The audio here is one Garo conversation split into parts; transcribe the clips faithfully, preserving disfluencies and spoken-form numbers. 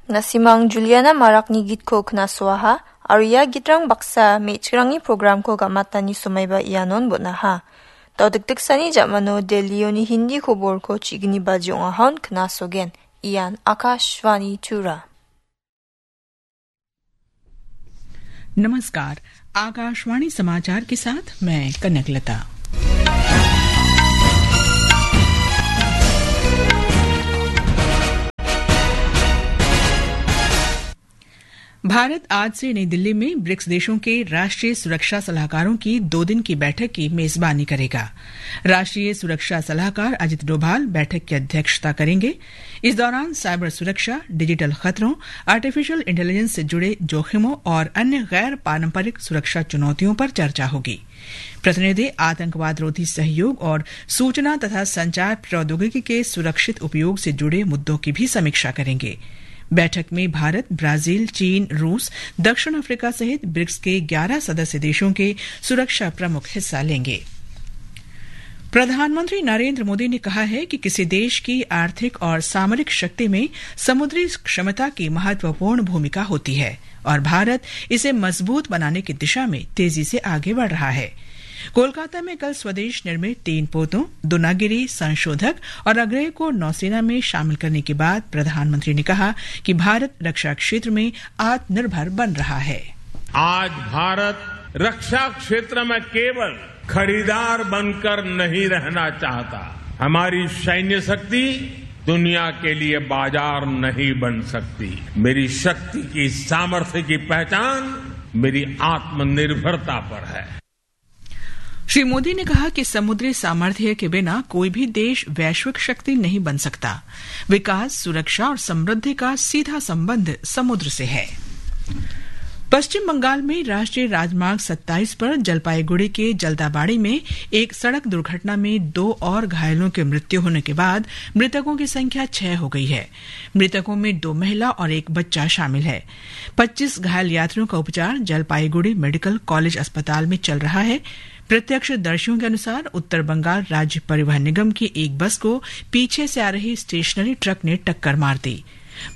Nasimang Juliana Marakni gitko knasoaha, aro ia gitrang baksa me·chikrangni programko gamatani somaiba ianon bon·aha. Dao dikdiksani jamano Delhioni Hindi koborko chigni baji ong·ahon knasogen. Ian Akashvani Tura. नमस्कार, आकाशवाणी समाचार के साथ मैं कनकलता। भारत आज से नई दिल्ली में ब्रिक्स देशों के राष्ट्रीय सुरक्षा सलाहकारों की दो दिन की बैठक की मेजबानी करेगा। राष्ट्रीय सुरक्षा सलाहकार अजित डोभाल बैठक की अध्यक्षता करेंगे। इस दौरान साइबर सुरक्षा, डिजिटल खतरों, आर्टिफिशियल इंटेलिजेंस से जुड़े जोखिमों और अन्य गैर पारंपरिक सुरक्षा चुनौतियों पर चर्चा होगी। प्रतिनिधि आतंकवाद रोधी सहयोग और सूचना तथा संचार प्रौद्योगिकी के सुरक्षित उपयोग से जुड़े मुद्दों की भी समीक्षा करेंगे। बैठक में भारत, ब्राजील, चीन, रूस, दक्षिण अफ्रीका सहित ब्रिक्स के ग्यारह सदस्य देशों के सुरक्षा प्रमुख हिस्सा लेंगे। प्रधानमंत्री नरेंद्र मोदी ने कहा है कि किसी देश की आर्थिक और सामरिक शक्ति में समुद्री क्षमता की महत्वपूर्ण भूमिका होती है और भारत इसे मजबूत बनाने की दिशा में तेजी से आगे बढ़ रहा है। कोलकाता में कल स्वदेश निर्मित तीन पोतों, दोनागिरी, संशोधक और अग्रय को नौसेना में शामिल करने के बाद प्रधानमंत्री ने कहा कि भारत रक्षा क्षेत्र में आत्मनिर्भर बन रहा है। आज भारत रक्षा क्षेत्र में केवल खरीदार बनकर नहीं रहना चाहता। हमारी सैन्य शक्ति दुनिया के लिए बाजार नहीं बन सकती। मेरी शक्ति की, सामर्थ्य की पहचान मेरी आत्मनिर्भरता पर है। श्री मोदी ने कहा कि समुद्री सामर्थ्य के बिना कोई भी देश वैश्विक शक्ति नहीं बन सकता। विकास, सुरक्षा और समृद्धि का सीधा संबंध समुद्र से है। पश्चिम बंगाल में राष्ट्रीय राजमार्ग सत्ताईस पर जलपाईगुड़ी के जलदाबाड़ी में एक सड़क दुर्घटना में दो और घायलों की मृत्यु होने के बाद मृतकों की संख्या छह हो गई है। मृतकों में दो महिला और एक बच्चा शामिल है। पच्चीस घायल यात्रियों का उपचार जलपाईगुड़ी मेडिकल कॉलेज अस्पताल में चल रहा है। प्रत्यक्षदर्शियों के अनुसार, उत्तर बंगाल राज्य परिवहन निगम की एक बस को पीछे से आ रही स्टेशनरी ट्रक ने टक्कर मार दी।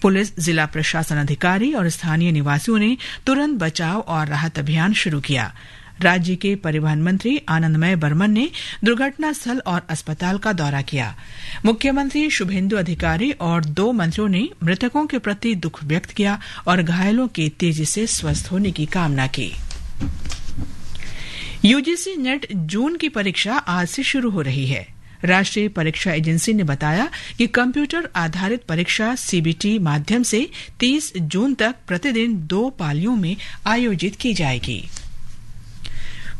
पुलिस, जिला प्रशासन अधिकारी और स्थानीय निवासियों ने तुरंत बचाव और राहत अभियान शुरू किया। राज्य के परिवहन मंत्री आनंदमय बर्मन ने दुर्घटना स्थल और अस्पताल का दौरा किया। मुख्यमंत्री शुभेंदु अधिकारी और दो मंत्रियों ने मृतकों के प्रति दुख व्यक्त किया और घायलों के तेजी से स्वस्थ होने की कामना की। यूजीसी नेट जून की परीक्षा आज से शुरू हो रही है। राष्ट्रीय परीक्षा एजेंसी ने बताया कि कंप्यूटर आधारित परीक्षा सीबीटी माध्यम से तीस जून तक प्रतिदिन दो पालियों में आयोजित की जाएगी।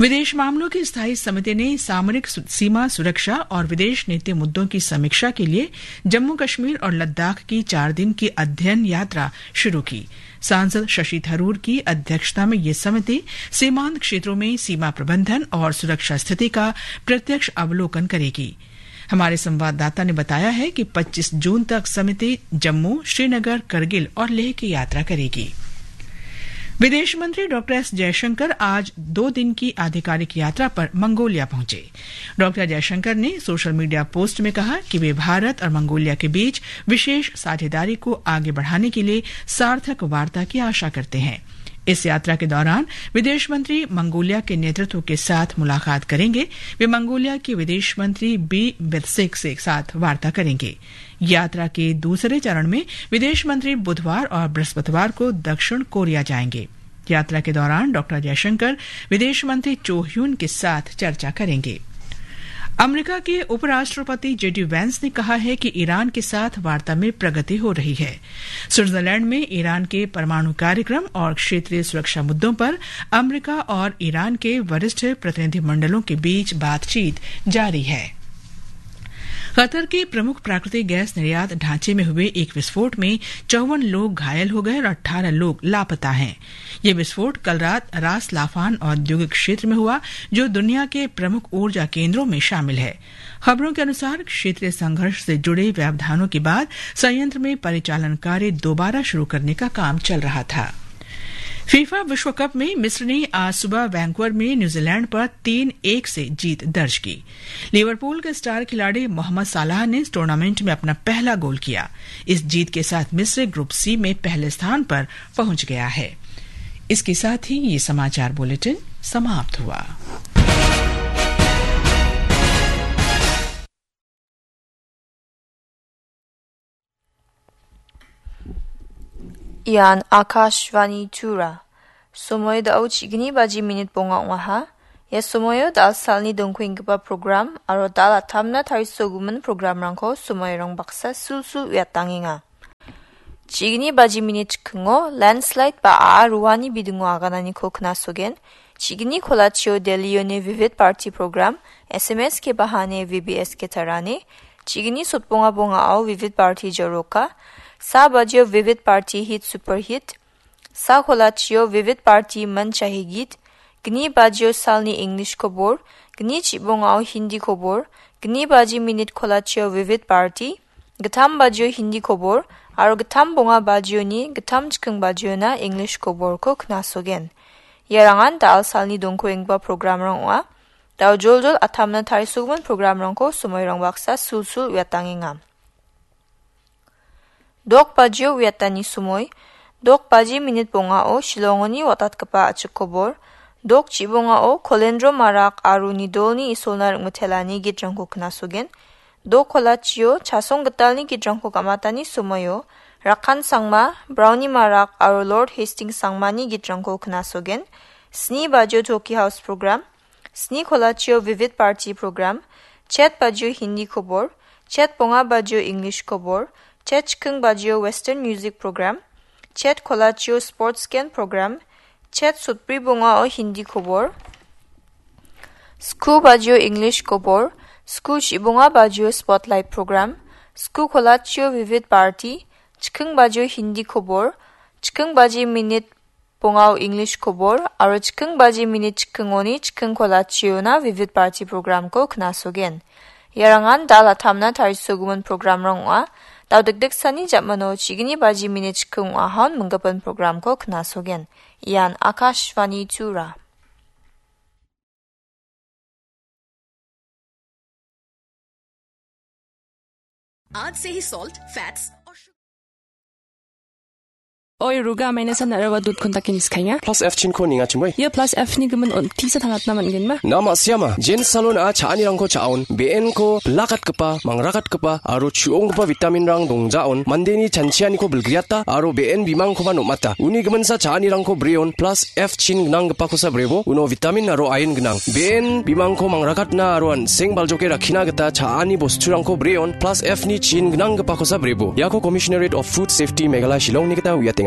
विदेश मामलों की स्थायी समिति ने सामरिक सु-, सीमा सुरक्षा और विदेश नीति मुद्दों की समीक्षा के लिए जम्मू कश्मीर और लद्दाख की चार दिन की अध्ययन यात्रा शुरू की। सांसद शशि थरूर की अध्यक्षता में ये समिति सीमांत क्षेत्रों में सीमा प्रबंधन और सुरक्षा स्थिति का प्रत्यक्ष अवलोकन करेगी। हमारे संवाददाता ने बताया है कि पच्चीस जून तक समिति जम्मू, श्रीनगर, करगिल और लेह की यात्रा करेगी। विदेश मंत्री डॉक्टर एस जयशंकर आज दो दिन की आधिकारिक यात्रा पर मंगोलिया पहुंचे। डॉक्टर जयशंकर ने सोशल मीडिया पोस्ट में कहा कि वे भारत और मंगोलिया के बीच विशेष साझेदारी को आगे बढ़ाने के लिए सार्थक वार्ता की आशा करते हैं। इस यात्रा के दौरान विदेश मंत्री मंगोलिया के नेतृत्व के साथ मुलाकात करेंगे। वे मंगोलिया के विदेश मंत्री बी बिरसिक से साथ वार्ता करेंगे। यात्रा के दूसरे चरण में विदेश मंत्री बुधवार और बृहस्पतिवार को दक्षिण कोरिया जाएंगे। यात्रा के दौरान डॉक्टर जयशंकर विदेश मंत्री चो ह्यून के साथ चर्चा करेंगे। अमेरिका के उपराष्ट्रपति जेडी वैंस ने कहा है कि ईरान के साथ वार्ता में प्रगति हो रही है। स्विट्जरलैंड में ईरान के परमाणु कार्यक्रम और क्षेत्रीय सुरक्षा मुद्दों पर अमेरिका और ईरान के वरिष्ठ प्रतिनिधिमंडलों के बीच बातचीत जारी है। कतर के प्रमुख प्राकृतिक गैस निर्यात ढांचे में हुए एक विस्फोट में चौवन लोग घायल हो गए और अठारह लोग लापता हैं। ये विस्फोट कल रात रास लाफान औद्योगिक क्षेत्र में हुआ, जो दुनिया के प्रमुख ऊर्जा केंद्रों में शामिल है। खबरों के अनुसार, क्षेत्रीय संघर्ष से जुड़े व्यवधानों के बाद संयंत्र में परिचालन कार्य दोबारा शुरू करने का काम चल रहा था। फीफा विश्व कप में मिस्र ने आज सुबह वैंकूवर में न्यूजीलैंड पर तीन एक से जीत दर्ज की। लिवरपूल के स्टार खिलाड़ी मोहम्मद सालाह ने इस टूर्नामेंट में अपना पहला गोल किया। इस जीत के साथ मिस्र ग्रुप सी में पहले स्थान पर पहुंच गया है। इसके साथ ही ये समाचार बुलेटिन समाप्त हुआ। Ian Akashvani Tura. Somoy dao chigni baji minit bonga ong·aha. Ia somoyo dal salni dongkuenggipa program aro dal atamna tarisogimin programrangko somoirang baksa sulsul uiatangenga. Chigni baji minit chikingo landslide ba a·a ruani bidingo agananiko knasogen. Chigni kolachio Delhioni Vivid Bharati program, S M S ke bahane V B S ke tarane. Chigni sotbonga bongao Vivid Bharati jaroka. Sa bajio Vivid Bharati hit super hit. Sa kolachio Vivid Bharati man chahi git. Gni bajio salni English kobor. Gni chibongao Hindi kobor. Gni baji minit kolachio Vivid Bharati. Gittam bajio Hindi kobor, aro gittam bonga bajioni gittam chiking bajiona English koborko knasogen. Iarangan dal salni dongkuenggipa programrang ong·a. Dao joljol atamna tarisogimin programrangko somoirang baksa sulsul uiatangenga. Dok bajio uiatani somoi, dok baji minit bongao Shillongoni watatgipa a·chik kobor, dok chibongao Kolendro Marak aro Nidolni Isolna ring·mitelani gitrangko knasogen, Dok kolachio chasong gitalni gitrangko gamatani somoio Rakan Sangma, Brownie Marak aro Lord Hastings Sangmani gitrangko knasogen. Sni bajio Toki House program, sni kolachio Vivid Bharati program, chet bajio Hindi kobor, chet bonga bajio English kobor, chet chiking bajio Western music program, chet kolachio sports gen program, chet sotbri bongao Hindi kobor, Sku bajio English kobor, sku chibonga bajio spotlight program, sku kolachio Vivid Bharati, chiking bajio Hindi kobor, chiking baji minit bongao English kobor, aro chiking baji minit chikingoni chiking kolachiona Vivid Bharati programko knasogen. Iarangan dal atamna tarisogimin programrang ong·a. Dao dikdiksani jamano chigni baji minit chiking ong·ahon minggipin programko knasogen. Ian Akashvani Tura. आज से ही salt, fats और sugar। Oi, ruga, maina san narawa dut kontak ini skanya. Plus F chin ko ninga chimoi. Ya plus F ni gemen on tisa tanat naman gen ma. Nama siama, Jen Salon a cha·anirangko cha·on, B N ko blakat gipa, mangrakatgipa, aro chuonggipa vitamin rang dongjaon, mandeni chanchianiko bilgriata, aro B N bimangkoba nomata. Uni giminsa cha·anirangko breon, plus F chin gnanggipakosa brebo, uno vitamin aro iron gnang. B N bimangko mangrakatna aro an·seng baljoke rakkina gita cha·ani bosturangko breon, plus F ni chin gnanggipakosa brebo. Iako Commissionerate of Food Safety Meghalaya Shillongni gita uiateng.